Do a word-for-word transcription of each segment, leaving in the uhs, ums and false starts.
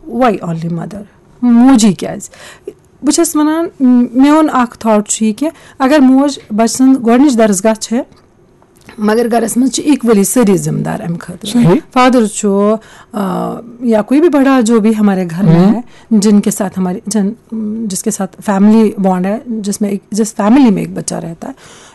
Why only mother? موجی کیٛازِ؟ بہٕ چھَس وَنان، م-، میون اَکھ تھاٹ چھُ یہِ کہِ اگر موج بَچہٕ سٕنٛز گۄڈٕنِچ درسگاہ چھِ، مگر گَرَس منٛز چھِ equally سٲری ذمہٕ دار اَمہِ خٲطرٕ۔ صحیح۔ فادر چھُ، آ، یا کوئی بھی بڑا جو بھی ہمارے گھر میں ہم۔ ہے، جن کے ساتھ ہماری، جن، جس کے ساتھ family bond ہے، جس میں ایک، جس فیملی میں ایک بچہ رہتا ہے،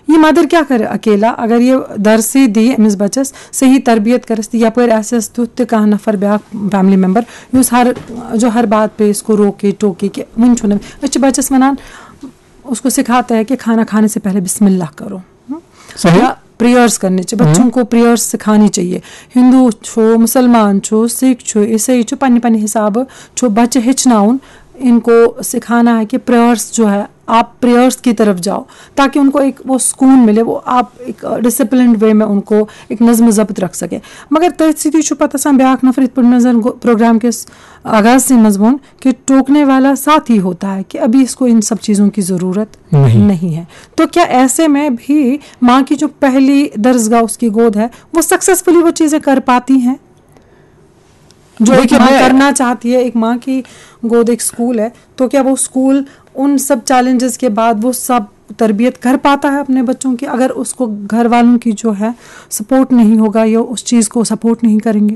یہ مدر کیا کرِ اکیلا؟ اگر یہ درسٕے دِیہِ أمِس بَچَس، صحیح تربیت کَرٮ۪س، تہٕ یَپٲرۍ آسٮ۪س تیُتھ تہِ کانٛہہ نفر، بیٛاکھ family member، یُس ہر، جو ہر بات پہ اس کو روکے ٹوکے کہ وٕنہِ چھُنہٕ، أسۍ چھِ بَچَس وَنان، اس کو سکھاتا ہے کہ کھانا کھانے سے پہلے بسم اللہ کرو۔ صحیح۔ یا پریئرز کرنی چاہیے، بچوں کو پریئرز سکھانی چاہیے۔ ہندو چھو، مسلمان چھو، سکھ چھو، عیسائی چھو، پننہِ پننہِ حسابہٕ چھو بچہٕ ہیٚچھناوُن، ان کو سکھانا ہے کہ پریئرز جو ہے، آپ پریئرز کی طرف جاؤ، تاکہ ان کو ایک وہ سکون ملے، وہ آپ ایک ڈسپلنڈ وے میں ان کو ایک نظم و ضبط رکھ سکے۔ مگر تٔتھۍ سۭتی چھُ پتہٕ آسان بیٛاکھ نفر، یِتھ پٲٹھۍ مےٚ زن گو-، پروگرام کِس آغاز سے منٛز ووٚن کہ ٹوکنے والا ساتھ ہی ہوتا ہے کہ ابھی اس کو ان سب چیزوں کی ضرورت نہیں۔ نہیں ہے۔ تو کیا ایسے میں بھی ماں کی جو پہلی درسگاہ اس کی گود ہے، وہ سکسیسفلی وہ چیزیں کر پاتی ہیں جو ایک دیکھیے، ماں میں کرنا چاہتی ہے؟ ایک ماں کی گود ایک اسکول ہے، تو کیا وہ اسکول ان سب چیلنجز کے بعد وہ سب تربیت کر پاتا ہے اپنے بچوں کی، اگر اس کو گھر والوں کی جو ہے سپورٹ نہیں ہوگا یا اس چیز کو سپورٹ نہیں کریں گے؟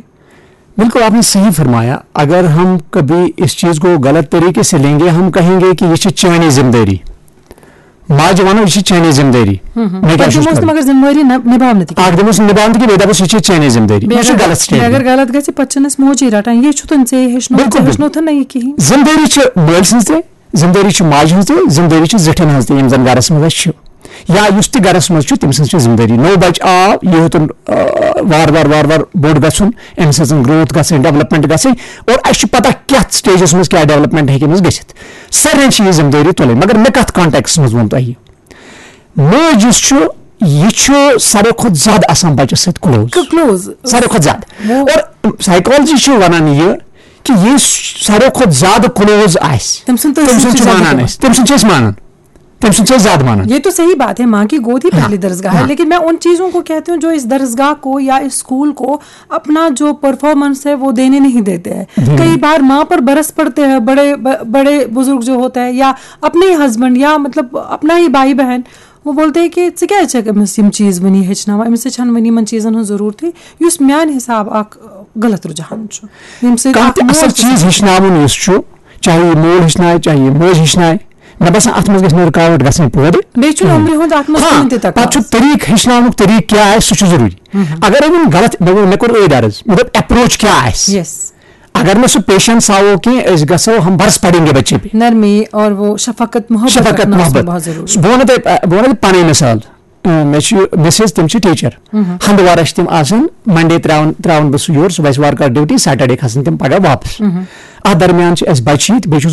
بالکل، آپ نے صحیح فرمایا۔ اگر ہم کبھی اس چیز کو غلط طریقے سے لیں گے، ہم کہیں گے کہ یہ چھ چانی ذمہ داری۔ ماجہِ ونو، یہ چھ چانی ذمہ داری۔ میں کیا تِم چھُس اوس نہٕ کران؟ مگر ذمہٕ وٲری نہ-، نباونہٕ تہِ کِہیٖنۍ۔ اکھ دِمو سُہ نباونہٕ تہِ کہِ بیٚیہِ دَپوس، یہ چھ چانی ذمہ داری۔ یہ چھُ بیٚیہِ غلط اگر، بیٚیہِ اگر سٹیٹمنٹ۔ غلط گژھِ، پتہٕ چھِنہٕ أسۍ موجی رٹان، یہِ چھُ تہٕ ژےٚ ہیٚچھنو، بِلکُل، ژےٚ بِلکُل۔ ہیٚچھنو تہٕ نہ یہِ کِہیٖنۍ۔ ذمہ داری چھِ ماجہِ ہٕنٛز تہِ، ذمہ داری چھِ ماجہِ ہٕنٛز تہِ، ذمہ داری چھِ زِٹھٮ۪ن ہٕنٛز تہِ، یِم زن گرس منٛز اَسہِ چھِ۔ یا یُس تہِ گرس منٛز چھُ، تٔمۍ سٕنٛز چھِ ذمہ داری۔ نوٚو بچہٕ آو، یہِ ہیوٚتُن، آ، وار وار وار وار بوٚڑ گژھُن، أمۍ سٕنٛز گروتھ گژھٕنۍ، ڈیولپمنٹ گژھٕنۍ، اور اَسہِ چھُ پتہ کتھ سٹیجس منٛز کیٛاہ ڈیولپمنٹ ہیٚکہِ أمِس گٔژھِتھ۔ سارنٕے چھِ یہِ ذمہ دٲری تُلٕنۍ، مگر مےٚ کتھ کانٹیکسس منٛز ووٚن تۄہہِ؟ مٲج یُس چھُ، یہِ چھُ ساروی کھۄتہٕ زیادٕ آسان بچس سۭتۍ کلوز۔ کلوز۔ ساروی کھۄتہٕ زیادٕ۔ وہ اور سائیکالجی چھِ ونان یہِ کہ یہِ ساروی کھۄتہٕ زیادٕ کلوز آسہِ، تٔمۍ سُنٛد تہٕ تٔمۍ سُنٛد أسۍ چھِ چھِ مانان زیادٕ أسۍ، تٔمۍ سُنٛد چھِ أسۍ مانان، تٔمۍ سُنٛد چھِ أسۍ زیادٕ مانان۔ یہ تو صحیح بات ہے، ماں کی گود ہی ہاں، پہلی درسگاہ ہے، ہاں۔ لیکن میں ان چیزوں کو کہتی ہوں جو اس درسگاہ کو یا اس اسکول کو اپنا جو پرفارمنس ہے وہ دینے نہیں دیتے ہیں۔ دینے کئی بار ماں پر برس پڑتے ہیں، بڑے ب-، بڑے بزرگ جو ہوتے ہیں یا اپنے ہی ہسبینڈ یا مطلب اپنا ہی بھائی بہن، وہ بولتے ہیں کہ ژٕ کیٛازِ چھَکھ أمِس یِم چیٖز وٕنی ہیٚچھناوان؟ أمِس چھَنہٕ وٕنہِ یِمَن چیٖزَن ہٕنٛز ضروٗرتٕے، یُس میٛانہِ حساب اکھ غلط رُجحان چھُ، ییٚمہِ سۭتۍ کانٛہہ اکھ تہِ مول اصل تہِ چیز ہیٚچھناوُن یُس چھُ، چاہے یہِ مول ہیٚچھنایہِ، چاہے یہِ مٲج ہیٚچھنایہِ، مےٚ باسان اتھ منٛز گژھِ نہٕ رُکاوٹ گژھٕنۍ پٲدٕ۔ بیٚیہِ چھُنہٕ عمرِ ہُنٛد اتھ منٛز ہاں، کٕہٕنۍ تہِ پتہٕ چھُ تقاضہٕ۔ طریٖقہٕ ہیٚچھناونُک طریٖقہٕ کیٛاہ آسہِ، سُہ چھُ ضروٗری۔ اگر أمۍ غلط، مےٚ ووٚن، مےٚ کوٚر أتھۍ عرض، مطلب اپروچ کیٛاہ آسہِ۔ یس۔ اگر مےٚ سُہ پیشنس ہاوو کینٛہہ، أسۍ گژھو ہم برس پڑیں گے بچے پہ۔ نرمی اور وہ شفقت محبت شفقت رکھنا اس میں محبت۔ بہت ضروری۔ بہٕ وَنہٕ تۄہہِ، بہٕ وَنہٕ تۄہہِ پَنٕنۍ مثال۔ اۭں، مےٚ چھِ مسز، تِم چھِ ٹیٖچر۔ ہندوارا چھِ تِم آسان، منڈے تراوان، تراوان بہٕ سُہ یور، صُبحس وارٕ کارٕ ڈیوٹی، سیٹرڈے کھسان تِم پگاہ واپس۔ اتھ درمیان چھِ اَسہِ بچہِ یِتھ، بیٚیہِ چھُس